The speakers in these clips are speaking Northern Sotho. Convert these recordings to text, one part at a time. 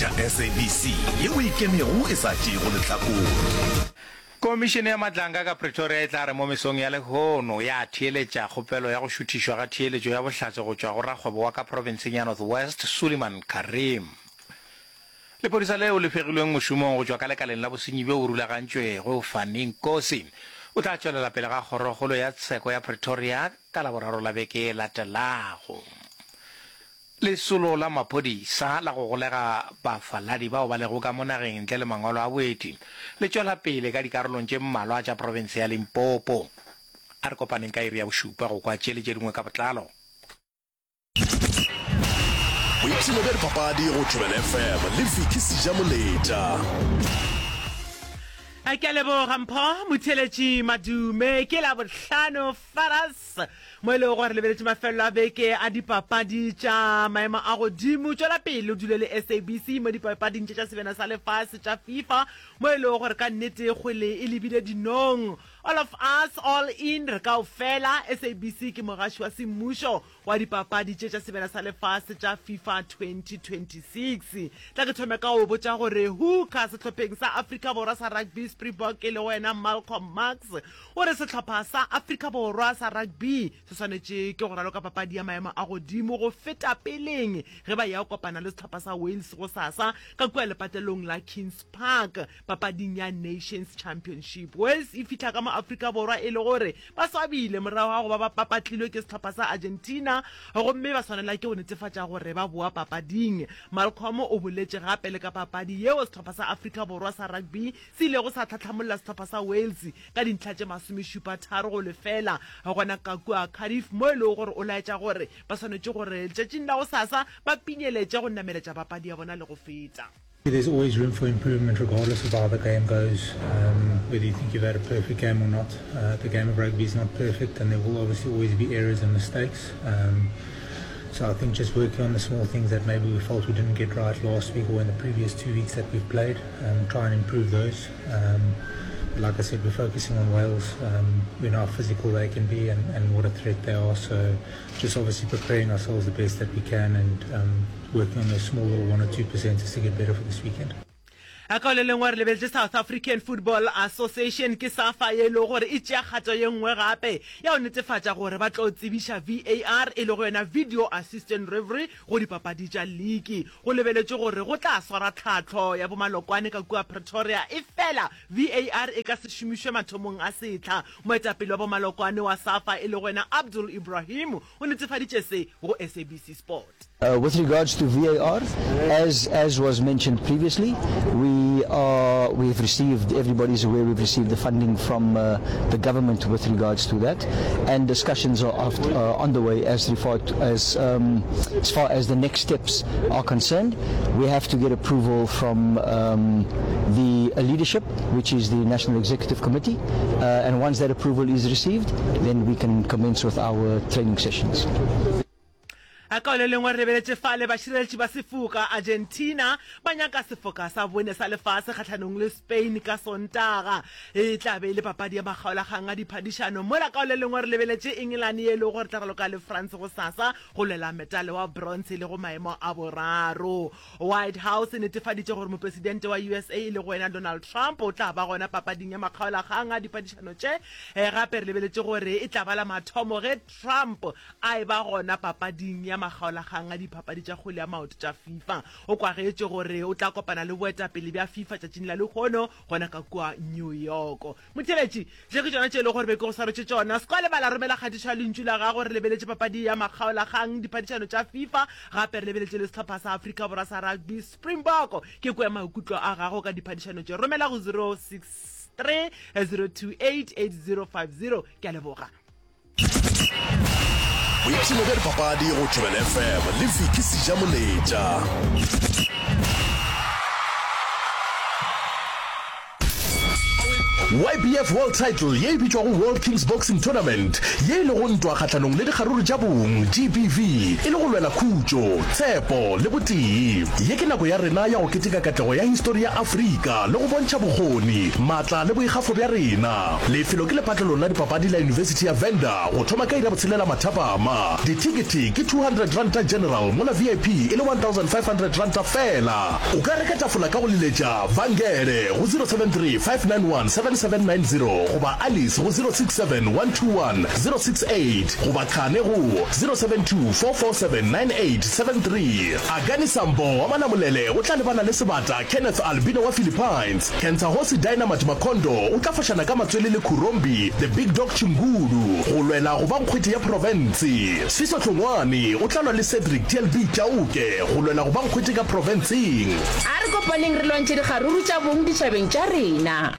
Theeletša SABC yeo e ikemego e sa tšeego lehlakore. Komišene ya Madlanga ka Pretoria e tla re mo mesong ya lehono ya theeletša kgopelo ya go šuthišwa ga theeletšo ya bohlatse go tšwa go rakgwebo wa ka profenseng ya North West, Suliman Carrim. Lephodisa leo le fegilweng mošomong go tšwa ka lekaleng la bosenyi bjo bo rulagantšwego, Fani Nkosi, o tla tšwelela pele ga Kgorokgolo ya Tsheko ya Pretoria ka Laboraro la beke e latelago. Lesolo la maphodisa la go golega bafaladi bao ba lego ka mo nageng ntle le mangwalo a boeti le tšwela pele ka dikarolong tše mmalwa tša profense ya Limpopo. A re kopaneng ka iri ya bošupa go kwa tše le tše dingwe ka botlalo. Boipshino bja dipapadi go Thobela FM le Vicky Sejamoletša. Ke a leboga Mpho Motheeletši Madume. Ke Labohlano Faras. Mo e lego gore lebeletše mafelelo a beke a dipapadi tša maemo a godimo. Tšwela pele o dule le SABC mo dipapading tše tša Sebjana sa Lefase tša FIFA mo e lego gore ka nnete kgwele e lebile dinong. All of us, all in, re kaofela. SABC ke mogaši wa semmušo wa dipapadi tše tša Sebjana sa Lefase tša FIFA 2026. Tla ke thome ka go botša gore hooker sehlopheng sa Afrika Borwa sa rugby Springbok e lego yena Malcolm Marx O re sehlopha sa Afrika Borwa sa rugby se swanetše ke go raloka papadi ya maemo a godimo go feta peleng ge ba eya go kopana le sehlopha sa Wales gosasa ka kua lepatlelong la Kings Park papading ya Nations Championship. Wales e fihla ka mo Afrika Borwa e le gore ba swabile morago ga go ba ba papatlilwe ke sehlopha sa Argentina gomme ba swanela ke go netefatša gore ba boa papading. Malcolm o boletše gape le ka papadi yeo sehlopha sa Afrika Borwa sa rugby se ilego sa tlhatlhamolla sehlopha sa Wales ka dintlha tše masomešupa-tharo go lefela gona ka kua Cardiff mo e lego gore o laetša gore ba swanetše gore letšatšing la gosasa ba pinyeletše go nameletša papadi ya bona le go feta. There's always room for improvement regardless of how the game goes, um, whether you think you've had a perfect game or not. Uh, the game of rugby is not perfect and there will obviously always be errors and mistakes. Um, so I think just working on the small things that maybe we felt we didn't get right last week or in the previous two weeks that we've played, um, try and improve those. Um, like I said, we're focusing on Wales. Um, we know how physical they can be and, and what a threat they are. So just obviously preparing ourselves the best that we can and um, working on those small little 1 or 2 percenters to get better for this weekend. Ka le lengwe re lebeletše South African Football Association ke SAFA ye e lego gore e tšea kgato ye nngwe gape ya go netefatša gore ba tlo tsebiša VAR e lego yona Video Assistant Referee go dipapadi tša liki. Go lebeletšwe gore go tla swara tlhahlo ya bomalokwane ka kua Pretoria efela VAR e ka se šomišwe mathomong a sehla. Moetapele wa bomalokwane wa SAFA e lego yena Abdul Ebrahim o netefaditše se go SABC Sport. Uh, with regards to VAR, as, as was mentioned previously, we are, we've received, everybody's aware we've received the funding from uh, the government with regards to that, and discussions are after, uh, on the way as, referred to, as, um, as far as the next steps are concerned. We have to get approval from um, the leadership, which is the National Executive Committee, uh, and once that approval is received, then we can commence with our training sessions. Ka le lengwe re lebeletše fale bašireletši ba sefoka Argentina ba nyaka sefoka sa bone sa lefase kgahlanong le Spain ka Sontaga. E tla be e le papadi ya makgaolakgang a diphadišano. Mola ka le lengwe re lebeletše England ye e lego gore tla raloka le France gosasa go lwela metale wa bronze e lego maemo a boraro. White House e netefaditše gore mopresidente wa USA e lego yena Donald Trump o tla ba gona papading ya makgaolakgang a diphadišano tše. Gape re lebeletše gore e tla ba la mathomo ge Trump a eba gona papading ya makgaolakgang a dipapadi tša kgwele ya maoto tša FIFA. O kwagetše gore o tla kopana le boetapele bja FIFA tšatšing la lehono gona ka kua New York. Motheeletši, tše ke tšona tše e lego gore be ke go swaretše tšona. Se kwa lebala, romela kgatišo ya lentšu la gago. Re lebeletše papadi ya makgaolakgang diphadišano tša FIFA, gape re lebeletše le sehlopha sa Afrika Borwa sa rugby, Springbok. Ke kwe maikutlo a gago ka diphadišano tše. Romela go 063 028 8050. Ke a leboga. Boipshino bja dipapadi go Thobela FM le Vicky Sejamoletša. YBF World Title ye e bitšwago World Kings Boxing Tournament, ye e lego ntwa kgahlanong le dikgaruru tša bong, GBV, e le go lwela khutšo, tshepo le botee. Ye ke nako ya rena ya go keteka katlego ya histori ya Afrika le go bontšha bokgoni, maatla le boikgafo bja rena. Lefelo ke lepatlelong la dipapadi la Yunibesithi ya Venda go thoma ka iri ya botshelela mathapama. Dithekethe ke R200 General mola VIP e le R1500 feela. O ka reka tafola ka go leletša Vangele go 073 591 7790 goba Alice go 067 121 068 goba Khane go 072 447 9873. Akani Sambo wa Manamolele o tla lebana le sebata Kenneth Albino wa Philippines. Kentsahosi Dynamite Makondo o tla fošana ka matswele le Khurombi The Big Dog Chingulu go lwela go ba nkgwete ya profense. Sfiso Hlongwane o tla lwa le Cedric TLB Chauke go lwela go ba nkgwete ka profenseng. A re kopaneng re lwantšhe dikgaruru tša bong ditšhabeng tša rena.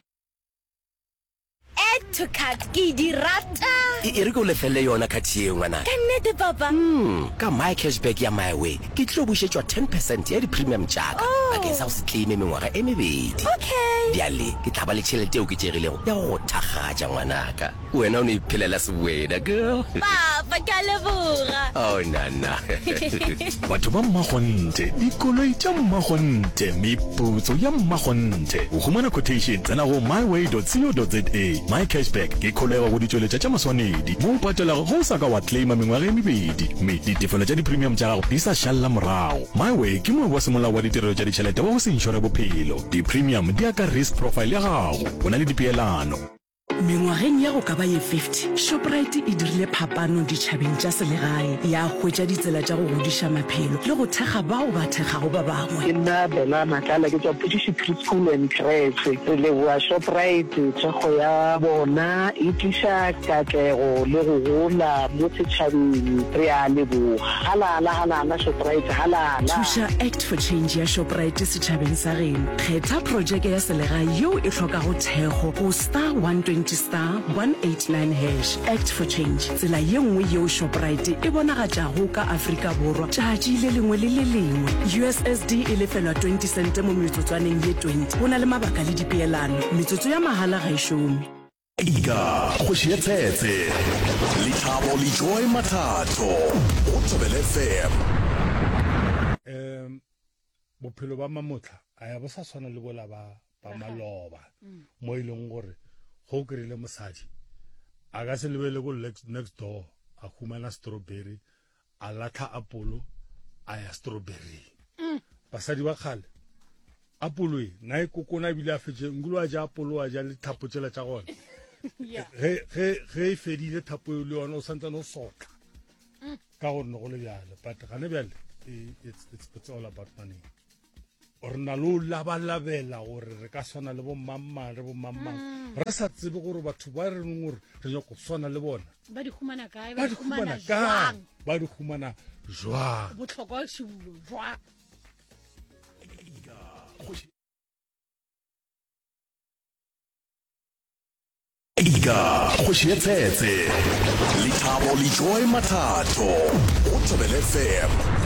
Add to cart ke di rata. E, e re ke o lefelle yona card yeo, ngwanaka. Ka nnete, Papa? Mm, ka My Cashback ya MiWay, ke tlo bušetšwa ten percent ya di-premium tša ka Oh. bakeng sa go se claime mengwaga e mebedi. Okay. Bjale ke tla ba le tšhelete e oketšegilego ya go go thakgatša, ngwanaka. Wena o no iphelela sewena, girl. Papa, ke a leboga. Oh, nana. Batho ba mmakgonthe, dikoloi tša mmakgonthe, meputso ya mmakgonthe. Go humana quotation, tsena go myway.co.za. MyCashback ke kholego go ditšweletša tša maswanedi mo o patelago ge o sa ka wa claima mengwaga e mebedi mme ditefelo tša di-premium tša gago di sa šalela morago. MyWay ke moabi wa semolao wa ditirelo tša ditšhelete wa go se inšore bophelo. Di-premium di ya ka risk profile ya gago. Go na le dipeelano. Mengwageng ya go ka ba ye 50, Shoprite e dirile phapano ditšhabeng tša selegae, ya hwetša ditsela tša go godiša maphelo le go thekga bao ba thekgago ba bangwe. Ke nna Bella Matlala, ke tšwa Phudiši Preschool and Creche. Re leboga Shoprite, thekgo ya bona e tliša katlego le go gola mo setšhabeng. Re a leboga. Halala, halala Shoprite, halala! Thuša Act for Change ya Shoprite setšhabeng sa geno. Kgetha projeke ya selegae yeo e hlokago thekgo go star 120 star 189 hash. Act for Change, tsela ye nngwe yeo Shoprite e bonagatšago ka Afrika Borwa tšatši le lengwe le le lengwe. USSD e lefelwa 20 sente mo metsotswaneng ye 20. Go na le mabaka le dipeelano. Metsotso ya mahala ga e šome. Ika, kgoši ya tshetse. Lethabo le Joy Mathatho go Thobela FM. Um bophelo ba mamotlha a ya bo sa tshwana le bola ba ba maloba mm. mo e leng gore go o kry-ile mosadi a ka se lebele ko next door a humana strawberry a latlha apolo a ya strawberry mm. basadi ba kgale apolo e na e kokona ebile a fetse nkolo a ja apolo a ja le thapo tsela tša gona ge e fedile thapo e le yona o santsane o sotla mm. ka gore ne go le bjale but gane bjale it's, it's, it's all about money re na le o labalabela gore re ka swana le bomangmang re bomangmang mm. re sa tsebe gore batho ba re neng gore re nyako swana le bona ba di humana kae ba di humana kae ba di humana jwang botlhokwa šibulo jwang Ika, kgoši ya tshetse. Lethabo le Joy Mathatho go Thobela FM.